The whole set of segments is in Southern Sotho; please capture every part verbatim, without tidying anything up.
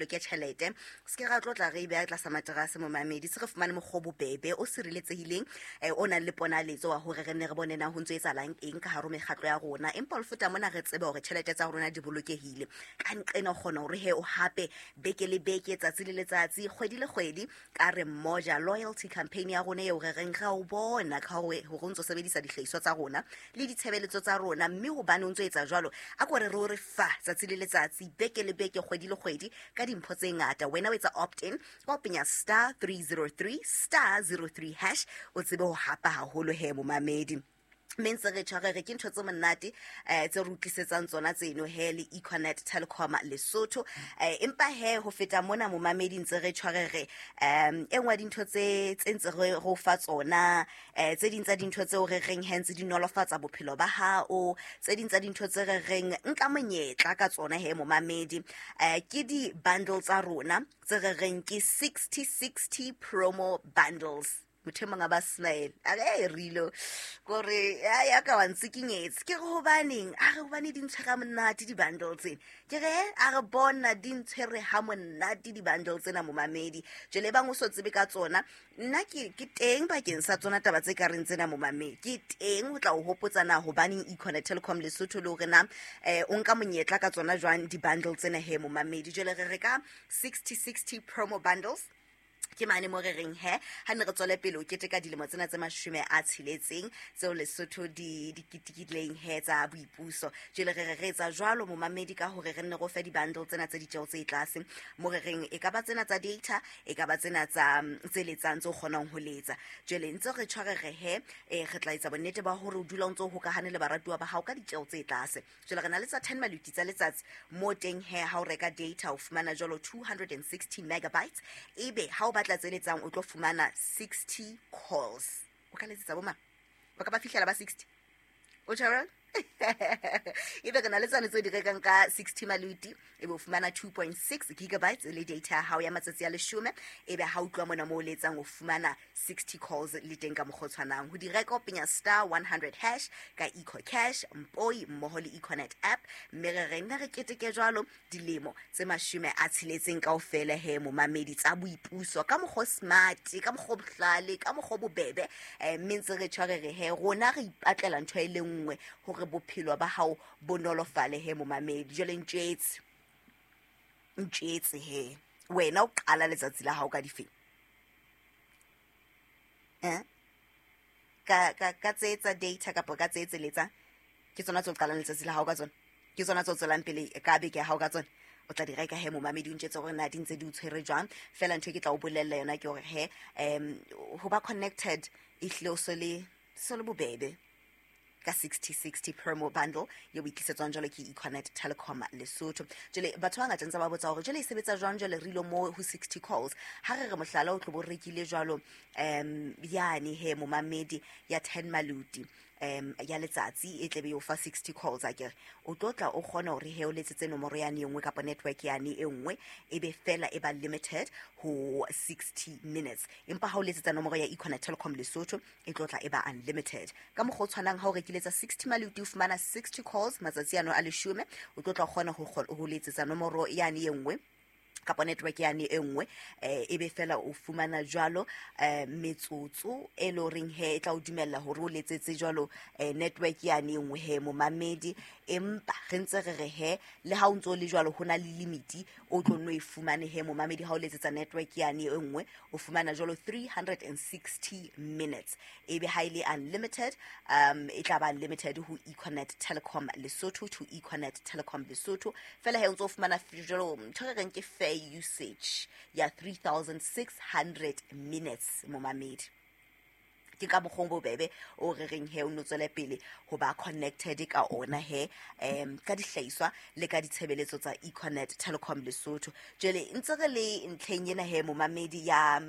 Ke tjhelete se ke ra tlo tla re e beha tlasa materase, momamedi. Se re fumane mokgwa o bobebe, o sireletsehileng, um o nang le ponaletso wa hore re nne re bone na ho ntso etsahalang eng ka hare ho mekgatlo ya rona. Empa ho feta mona, re tsebe hore tjhelete tsa rona di bolokehile. Ka nqena o kgona hore he o hape beke le beke, tsatsi le letsatsi, kgwedi le kgwedi, ka re Mmoja loyalty campaign ya rona eo re reng ra o bona ka hore hore o ntso sebedisa dihlahiswa tsa rona le ditshebeletso tsa rona. Mme hobane o ntso etsa jwalo, a ko re re o re fa tsatsi le letsatsi, beke le beke, kgwedi le kgwedi, ka dimpho tse ngata. Wena o etsa opt in ka ho penya star three oh three star zero three hash, o tsebe ho hapa haholo he, momamedi. Mme ntse re tshware re ke ntho tse monate um tse re utlwisetsang tsona tseno he le Econet Telecom Lesotho. um empa he, ho feta mona, momamedi, ntse re tshware re um e nngwe ya dintho tse tse ntse re re o fa tsona, um tse ding tsa dintho tseo re reng he ntse di nolofatsa bophelo ba hao, tse ding tsa dintho tse re reng nka monyetla ka tsona he, momamedi, um ke di-bundle tsa rona tse re reng ke sixty sixty promo bundles. Motho e mongwe a ba smile, a re e rilo kore ya ka wa ntsikinyetse. Ke re hobaneng? A re hobane di ntshwere ha monate di-bundle tsena. Ke re a re bona di ntshwere ha monate di-bundle tsena, momamedi. Jwale e bang o so tsebe ka tsona, nna ke ke teng bakeng sa tsona taba tse ka reng tsena, momamedi. Ke teng ho tla o hopotsa na hobaneng Econet Telecom Lesotho, le hore na um o nka monyetla ka tsona jwang di-bundle tsena he, momamedi. Jwale re re ka sixty sixty promo bundles ke mane mo re reng he ha ne re tswele pele o keteka dilemo tsena tse mashome a tsheletseng tseo Lesotho di di ketekileng he tsa boipuso. Jwale re re re etsa jwalo, momamedi, ka hore re nne re o fe di-bundle tsena tse ditjeho tse tlase, mo re reng e ka ba tsena tsa data, e ka ba tsena tsa tse letsang, tse o kgonang ho letsa. Jwale ntse re tshware re he eh, re tla etsa bonnete ba hore o dula o ntse o hokahane le baratuwa ba hao ka ditjeho tse tlase. Jwale re na le tsa ten maluti tsa letsatsi, mo teng he ha o reka data o fumana jwalo two hundred and sixty megabytes, ebe ha o batla tse letsang o tlo fumana sixty calls. O ka letsetsa bo mang? Ba ka ba fihlela ba sixty, o tjho? Ebe re na le tsane tse di rekang ka sixty maluti, ebe o fumana two point six gigabytes le data ya hao ya matsatsi a leshome, ebe ha o tloha mona mo o letsang o fumana sixty calls le teng ka mokgwa o tshwanang. Ho di reka o penya star one hundred hash ka Eco Cash, Mpoi mmoho le Econet app. Mme re re nna re keteke jwalo dilemo tse mashome a tsheletseng kaofela he, momamedi, tsa boipuso ka mokgwa o smart, ka mokgwa o bohlale, ka mokgwa o bobebe. um mme ntse re tshware re he rona re ipatlela ntho e le nngwe hore bophelo ba hao bo nolofale he, momamedi. Jwale ntjetse ntjetse he, wena o qala letsatsi la hao ka difeng? Eh? ka ka ka tse tsa data kapa ka tse tse letsang? Ke tsona tse o qalang letsatsi la hao ka tsona? Ke tsona tse o tswelang pele ka beke ya hao ka tsona? O tla di reka he, momamedi, o ntjetse hore na di ntse di o tshwere jwang. Fela ntho e ke tla o bolella yona ke hore he um ho ba connected ehlile o so le so le bobebe ka sixty sixty promo bundle eo e tlisetswang jwalo ke Econet Telecom Lesotho. Jwale batho ba ngata ntse ba botsa hore jwale e sebetsa jwang. Jwale re ile mo ho sixty calls, ha re re mohlala o tlo bo rekile jwalo um yane he, momamedi, ya ten maluti um ya letsatsi, e tlebe e o fa sixty calls, akere o tlo tla o kgona hore he o letsetse nomoro yane e nngwe kapa network yane e nngwe, e be fela e ba limited ho sixty minutes. Empa ha o letsetsa nomoro ya Econet Telecom Lesotho, e tlo tla e ba unlimited. Ka mokgwa o tshwanang, ha o rekile tsa sixty maluti, o fumana sixty calls matsatsi ano a leshome, o tlo tla o kgona ho kgo- ho letsetsa nomoro yane e nngwe kapa network yane e nngwe, eh ebe fela o fumana jwalo eh metsotso e le horeng he e tla o dumella hore o letsetse jwalo eh network yane e nngwe he, momamedi. Empa re ntse re re he le ha o ntso le jwalo, ho na le limit o tlo nno e fumane he, momamedi. Ha o letsetsa network yane e nngwe, o fumana jwalo three hundred and sixty minutes, ebe ha ile unlimited, um e tla ba unlimited ho Econet Telecom Lesotho to Econet Telecom Lesotho fela. He o ntso o fumana jwalo ntho re reng ke fair usage ya three thousand six hundred minutes, momamedi. Ke ka mokgwa o bobebe o re reng he o no tswele pele ho ba connected ka ona he, um ka dihlahiswa le ka ditshebeletso tsa Econet Telecom Lesotho. Jwale ntse re le ntlheng ena he, momamedi, ya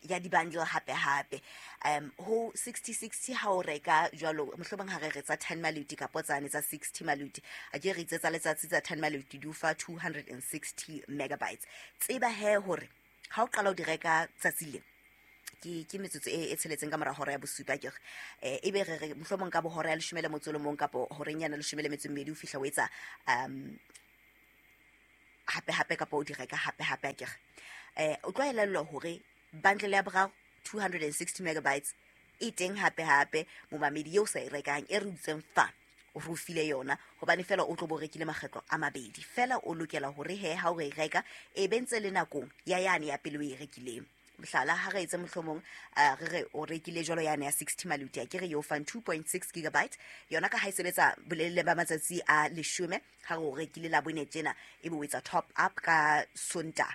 ya di-bundle hape hape, um ho sixty sixty, ha o reka jwalo mohlomong ha re re tsa ten maluti kapo tsane tsa sixty maluti, a ke re itse tsa letsatsi tsa ten maluti di o fa two hundred and sixty megabytes. Tseba he hore ha o qala o di reka tsatsi le ke ke metsotso e e tsheletseng ka mora hora ya bosupa kere, eh ebe re re mohlomong ka bohora ya leshome le motso o le mong kapo horeng yana leshome le metso e mmedi, o fihla o etsa um hape hape kapa o di reka hape hape akere. Eh o tlo elellwa hore bundle ya boraro two hundred sixty megabytes e teng hape hape momamedi eo sa e rekang e re utseng fa o re file yona hobane fela o tlo bo rekile makgetlo a mabedi fela o lokela hore he ha o e reka e bentse le nakong ya yane ya pele o e rekileng. Mohlala ha re etse mohlomong re re o rekile jwalo yane ya sixty maluti a ke re yo fan two point six gigabyte yona ka ha e sebetsa bolelele ba matsatsi a leshome ha re o rekile la bone tjena e be o etsa top up ka Sonta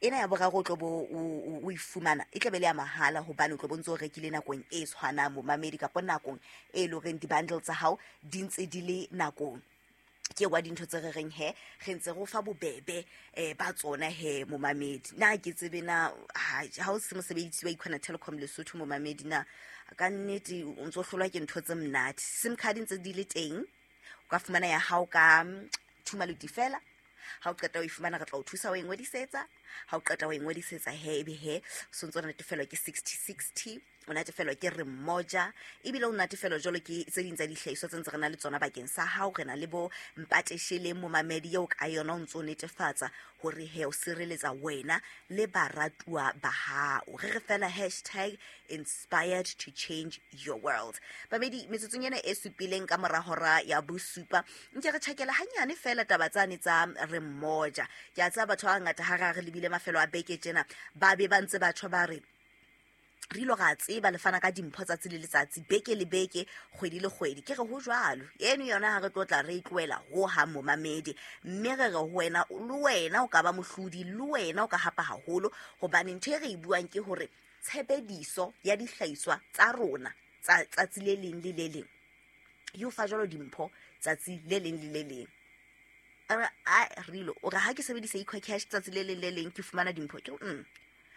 ena ya boraro o tlo bo o e fumana e tlabe le ya mahala hobane o tlo bontse o rekile nakong e tshwanang momamedi kapa nakong e leng horeng di-bundle tsa hao di ntse di le nakong. Ke wa dintho tse re reng he re ntse go fa bobebe eh ba tsona he momamedi. Na ke tsebe na ha o se mosebedisi wa Econet Telecom Lesotho momamedi na ka nnete o ntso hlolwa ke ntho tse monate. SIM card ntse di le teng o ka fumana ya hao ka two maluti fela. Ha o qeta o e fumana re tla o thusa o e ngodisetsa. Ha o qeta o e ngodisetsa he ebe he o ntso natefelwa ke sixty sixty, o natefelwa ke re mmoja ebile o natefelwa jwalo ke tse ding tsa dihlahiswa tse ntse re na le tsona bakeng sa hao. Re na le bo mpateshele momamedi eo ka yona o ntso netefatsa hore he o sireletsa wena le baratuwa ba hao. Re re fela hashtag inspired to change your world. Bamedi metsotsong ena e supileng ka mora hora ya bosupa nke re tjhakela hanyane fela taba tsane tsa re mmoja. Ke a tseba batho ba bangata ha re lebile mafelo a beke tjena ba be ba ntse batho ba re re ilo ra tseba le fana ka dimpho tsatsi le letsatsi beke le beke kgwedi le kgwedi. Ke re ho jwalo eno yona ha re tlotla re tlohela ho ha momamedi mme re re ho wena le wena o ka ba mohlodi le wena o ka hapa haholo hobane ntho e re e buang ke hore tshebediso ya dihlahiswa tsa rona tsa tsatsi le leng le le leng e o fa jwalo dimpho tsatsi le leng le le leng. A re ilo o re ha ke sebedisa EcoCash tsatsi le leng le leng ke fumana dimpho ke mm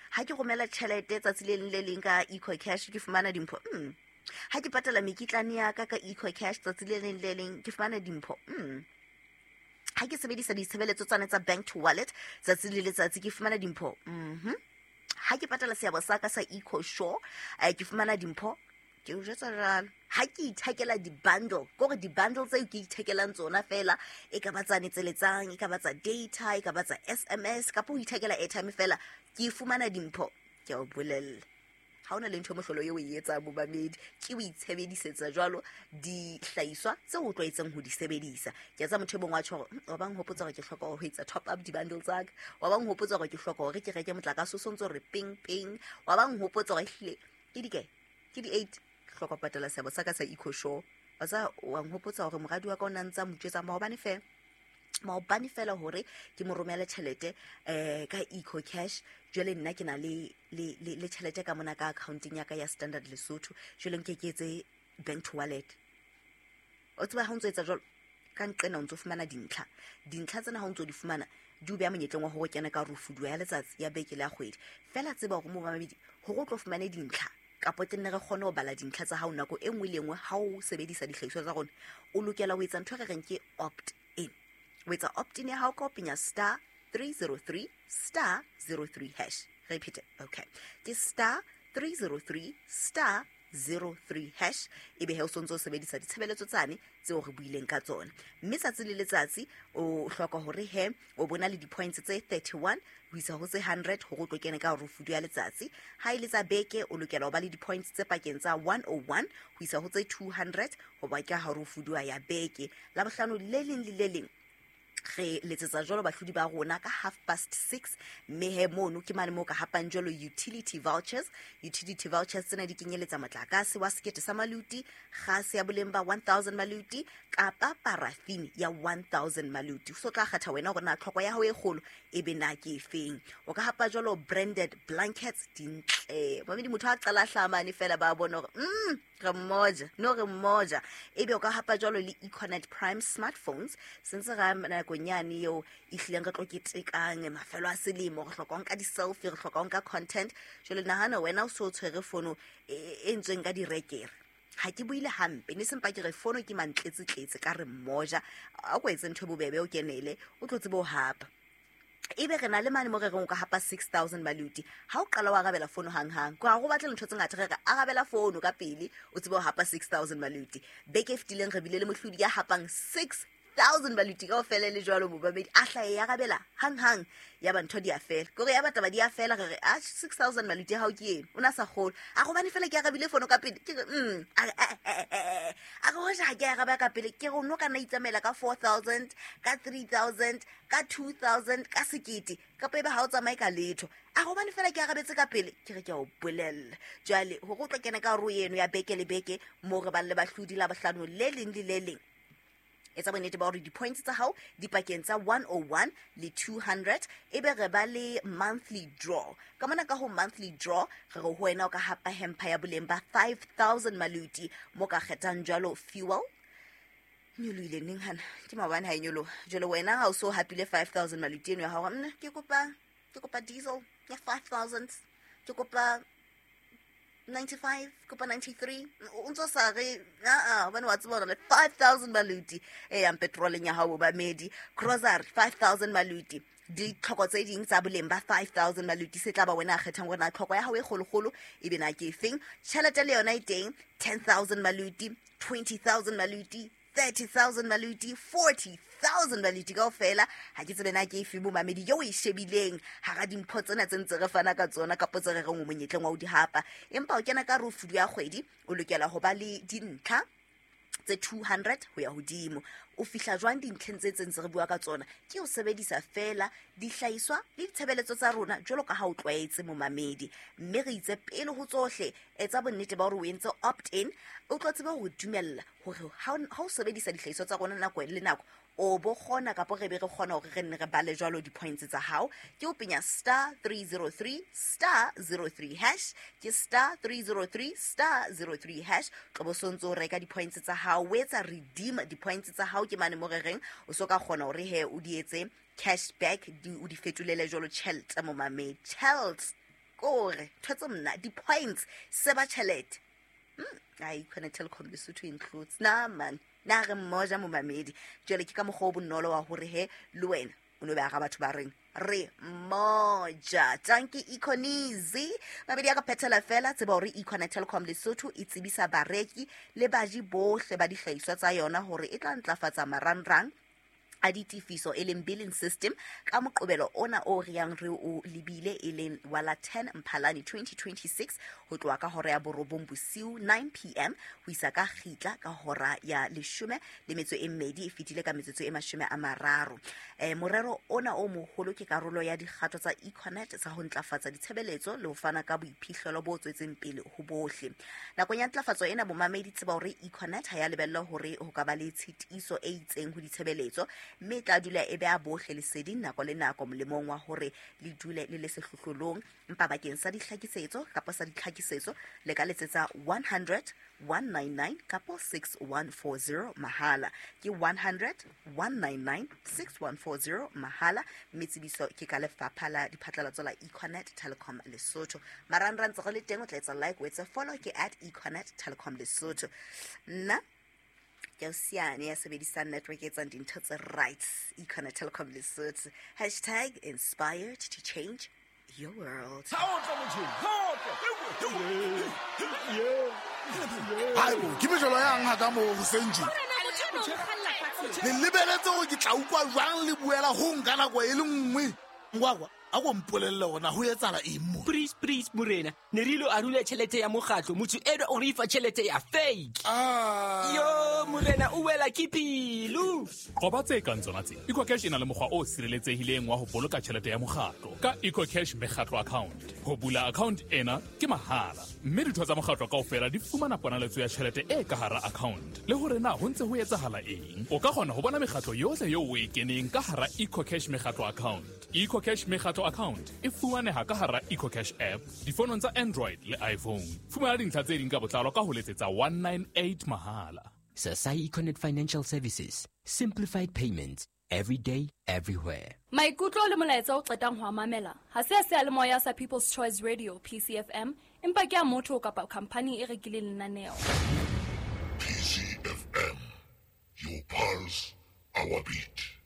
ha ke romela tjhelete tsatsi le leng le leng ka EcoCash ke fumana dimpho mm ha ke patala mekitlane ya ka ka EcoCash tsatsi le leng le leng ke fumana dimpho mm ha ke sebedisa ditshebeletso tsane tsa bank to wallet tsatsi le letsatsi ke fumana dimpho mhm ha ke patala seabo sa ka sa EcoSure ke fumana dimpho. Ke o jwetsa jwalo ha ke ithekela di-bundle kore di-bundle tseo ke ithekelang tsona fela e ka ba tsane tse letsang e ka ba tsa data e ka ba tsa S M S kapa ho ithekela airtime fela ke fumana dimpho. Ke a o bolella ha ona le ntho mohlolo eo o e etsang momamedi ke o itshebedisetsa jwalo dihlahiswa tseo o tlwaetseng ho di sebedisa. Ke a tseba motho e mong wa tjho hore wa bang hopotsa hore ke hloka ho etsa top up di-bundle tsa ka, wa bang hopotsa hore ke hloka hore ke reke motlakase o sontso re ping ping, wa bang hopotsa hore ehlile ke di kae ke di eight hloka patala seabo sa ka sa EcoSure. Wa tsa wa nhopotsa hore moradi wa ka o na ntsa motjwetsa maobane fela maobane fela hore ke mo romele tjhelete eh ka EcoCash. Jwale nna ke na le le le tjhelete ka mona ka accounting ya ka ya Standard Lesotho jwale nke ke etse bank to wallet. O tseba ha o ntso etsa jwalo ka nqena o ntso fumana dintlha dintlha tsena ha o ntso di fumana di o beha monyetleng wa hore kena ka rufuduwa ya letsatsi ya beke le ya kgwedi fela. Tseba hore momamedi hore o tlo fumane dintlha kapo tenne re kgone ho bala dintlha tsa hao nako e nngwe le nngwe ha o sebedisa dihlahiswa tsa rona o lokela ho etsa ntho e re reng ke opt in. O etsa opt in ya hao ka ho penya star three zero three star zero three hash. Repeat it. Okay. Ke star three zero three star zero three hash ebe he o sontso o sebedisa ditshebeletso tsane tseo re buileng ka tsona. Mme tsatsi le letsatsi o hloka hore he o bona le di-points tse thirty-one ho isa ho tse hundred hore o tlo kene ka rufudu ya letsatsi. Ha e le tsa beke o lokela ho ba le di-points tse pakeng tsa one oh one ho isa ho tse two hundred ho ba ka rufudu ya beke. Labohlano le leng le le leng re letsetsa jwalo bahlodi ba rona ka half past six mme he mono ke mane moo ka hapang jwalo utility vouchers. Utility vouchers tsena di kenyeletsa motlakase wa sekete sa maluti, kgase ya boleng ba one thousand maluti kapa paraffin ya one thousand maluti. So tla kgetha wena hore na tlhoko ya hao e kgolo e be na ke efeng. O ka hapa jwalo branded blankets dintle. Mamedi motho a qala hlamane fela ba bona hore mm re mmoja no re mmoja. Ebe o ka hapa jwalo le Econet Prime smartphones sentse ra nakong yane eo e hlileng re tlo ketekang mafelo a selemo re hloka ho nka di-selfie re hloka ho nka content. Jwale nahana wena o so tshwere fono e entsweng ka direkere. Ha ke buile hampe ne sempa ke re fono ke mantletse-tletse ka re mmoja a ko etse ntho e bobebe o kenele o tlo tsebe ho hapa. Ebe re na le mane mo re reng o ka hapa six thousand maluti. Ha o qala wa arabela fono hang-hang ko ha go batle ntho tse ngata re re arabela fono ka pele o tsebe ho hapa six thousand maluti. Beke e fetileng re bile le mohlodi ya hapang six thousand maluti kaofela le jwalo momamedi a hlae ya rabela hang hang ya ba ntho di a fela kore ya bataba di a fela re re a six thousand maluti ha o ke eno o na sa kgolo a gobane fela ke arabile fono ka pele ke re mm a a re hoja ha ke araba ka pele ke re no ka na itsamaela ka four thousand ka three thousand ka two thousand ka sekete kapa ebe ha o tsamaye ka letho a gobane fela ke arabetse ka pele ke re ke a o bolella jwale hore o tlo kena ka hare ho eno ya beke le beke mo re bang le bahlodi la bohlano le leng le le leng etsa bonnete ba hore di-points tsa hao di pakeng tsa one oh one le two hundred ebe re ba le monthly draw ka mona ka ho monthly draw re re ho wena o ka hapa hempa ya boleng ba five thousand maluti mo ka kgethang jwalo fuel nyolohile neng hana ke maobane ha e nyoloha jwale wena ha o so hapile five thousand maluti eno ya hao nna ke kopa ke kopa diesel ya five thousand ke kopa ninety-five kopa ninety-three o ntso sa re a a hobane wa tseba hore le five thousand maluti e yang petroleng ya hao momamedi grocery five thousand maluti ditlhoko tse ding tsa boleng ba five thousand maluti se tla ba wena a kgethang hore na tlhoko ya hao e kgolokgolo e be na ke efeng tjhelete le yona e teng ten thousand maluti twenty thousand maluti thirty thousand maluti forty thousand maluti kaofela ha ke tsebe na ke efe momamedi eo o e shebileng hara dimpho tsena tse ntse re fana ka tsona kapo tse re reng o monyetleng wa ho di hapa empa o kena ka rofudu ya kgwedi o lokela ho ba le dintlha tse two hundred ho ya hodimo o fihla jwang dintlheng tse tse ntse re bua ka tsona ke o sebedisa fela dihlahiswa le ditshebeletso tsa rona jwalo ka ha o tlwaetse momamedi mme re itse pele ho tsohle etsa bonnete ba hore o entse opt in o tlo tseba ho dumella hore ha o sebedisa dihlahiswa tsa rona nako le nako o bo kgona kapo re be re kgona hore re nne re bale jwalo di-points tsa hao ke o penya star three zero three star zero three hash ke star three zero three star zero three hash tlo bo sontso o reka di-points tsa hao o etsa redeem di-points tsa hao ke mane mo re reng o so ka kgona hore he o di etse cashback di o di fetolele jwalo tjhelete momamedi tjhelete kore ntho tse mna di-points se ba tjhelete ai Econet Telecom Lesotho includes na man na re mmoja momamedi jwale ke ka mokgwa o bonolo wa hore he le wena o no be ara batho ba reng re mmoja tanki Econizi mabedi a ka phethela fela tseba hore Econet Telecom Lesotho e tsebisa bareki le baji bohle ba dihlahiswa tsa yona hore e tla ntlafatsa marangrang a ditefiso e leng billing system ka moqobelo ona o re yang re o lebile e leng wa la ten Mphalane twenty twenty-six ho tloha ka hora ya borobong bosiu nine p m ho isa ka kgitla ka hora ya leshome le metso e mmedi e fetile ka metsotso e mashome a mararo. Eh, morero ona o moholo ke karolo ya dikgato tsa Econet tsa ho ntlafatsa ditshebeletso le ho fana ka boiphihlelo bo tswetseng pele ho bohle. Nakong ya ntlafatso ena bomamedi tseba hore Econet ha ya lebella hore ho ka ba le tshitiso e itseng ho ditshebeletso mme e tla dula e beha bohle leseding nako le nako molemong wa hore le dule le le sehlohlolong empa bakeng sa dihlakisetso kapa sa ditlhakisetso le ka letsetsa one hundred one nine nine kapo six one four zero mahala ke one hundred one nine nine six one four zero mahala mme tsebiso ke ka lefapha la diphatlalatso la Econet Telecom Lesotho marangrang tse re le teng o tla etsa like o etse follow ke at Econet Telecom Lesotho nna ke siane ya sebedisang network e etsang dintho tse right Econet Telecom Lesotho hashtag inspired to change your world. Hayibo ke mejolo yang ha ka mo hoseng tje le lebeletse hore ke tla utlwa jwang le buela ho nka nako e le nngwe ngwakwa a go mpolelle hore ho etsahala eng mo please please morena ne re ilo arula tjhelete ya mokgatlo motho eno o re fa tjhelete ya fake ah yo morena o wela ke pelo qoba tse kang tsona tse EcoCash e na le mokgwa o sireletsehileng wa ho boloka tjhelete ya mokgatlo ka EcoCash mekgatlo account ho bula account ena ke mahala mme ditho tsa mokgatlo kaofela di fumana ponaletso ya tjhelete e ka hara account le hore na ho ntse ho etsahala eng o ka kgona ho bona mekgatlo yohle eo o e keneng ka hara EcoCash mekgatlo account EcoCash mekgatlo account e fumaneha ka hara EcoCash app difonong tsa Android le iPhone fumana dintlha tse ding ka botlalo ka ho letsetsa one nine eight mahala Sasai Econet Financial Services simplified payments every day everywhere Maikutlo le molaetsa o qetang ho a mamela ha se a seyalemoya sa People's Choice Radio P C F M empa ke a motho kapa company e rekileng lenaneo P C F M, your pulse, our beat.